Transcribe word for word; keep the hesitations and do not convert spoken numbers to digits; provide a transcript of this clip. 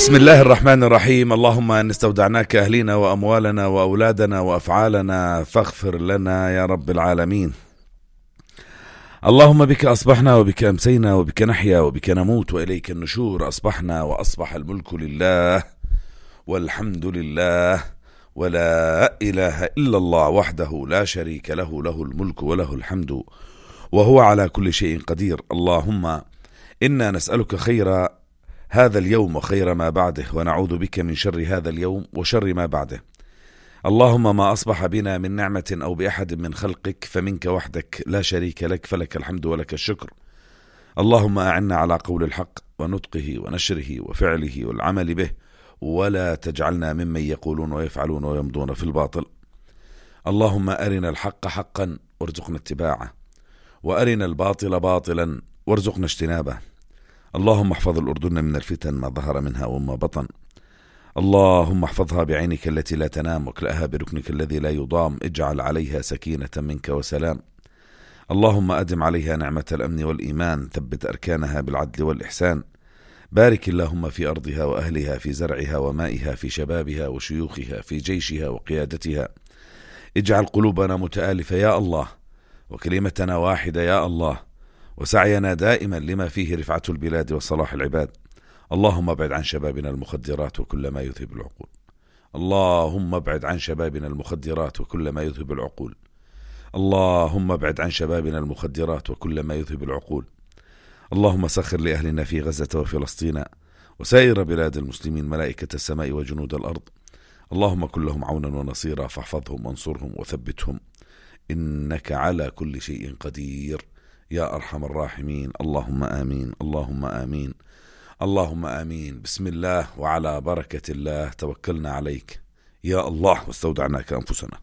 بسم الله الرحمن الرحيم. اللهم إن استودعناك أهلنا وأموالنا وأولادنا وأفعالنا فاغفر لنا يا رب العالمين. اللهم بك أصبحنا وبك أمسينا وبك نحيا وبك نموت وإليك النشور. أصبحنا وأصبح الملك لله والحمد لله ولا إله إلا الله وحده لا شريك له، له الملك وله الحمد وهو على كل شيء قدير. اللهم إنا نسألك خير هذا اليوم وخير ما بعده، ونعوذ بك من شر هذا اليوم وشر ما بعده. اللهم ما أصبح بنا من نعمة أو بأحد من خلقك فمنك وحدك لا شريك لك، فلك الحمد ولك الشكر. اللهم أعنا على قول الحق ونطقه ونشره وفعله والعمل به، ولا تجعلنا ممن يقولون ويفعلون ويمضون في الباطل. اللهم أرنا الحق حقا وارزقنا اتباعه، وأرنا الباطل باطلا وارزقنا اجتنابه. اللهم احفظ الأردن من الفتن ما ظهر منها وما بطن. اللهم احفظها بعينك التي لا تنام واكلأها بركنك الذي لا يضام. اجعل عليها سكينة منك وسلام. اللهم أدم عليها نعمة الأمن والإيمان، ثبت أركانها بالعدل والإحسان. بارك اللهم في أرضها وأهلها، في زرعها ومائها، في شبابها وشيوخها، في جيشها وقيادتها. اجعل قلوبنا متآلفة يا الله، وكلمتنا واحدة يا الله، وسعينا دائما لما فيه رفعة البلاد وصلاح العباد. اللهم ابعد عن شبابنا المخدرات وكل ما يذهب العقول. اللهم ابعد عن شبابنا المخدرات وكل ما يذهب العقول. اللهم ابعد عن شبابنا المخدرات وكل ما يذهب العقول. اللهم سخر لأهلنا في غزة وفلسطين وسائر بلاد المسلمين ملائكة السماء وجنود الأرض. اللهم كن لهم عونا ونصيرا، فاحفظهم وانصرهم وثبتهم، إنك على كل شيء قدير يا أرحم الراحمين. اللهم آمين، اللهم آمين، اللهم آمين. بسم الله وعلى بركة الله توكلنا عليك يا الله واستودعناك أنفسنا.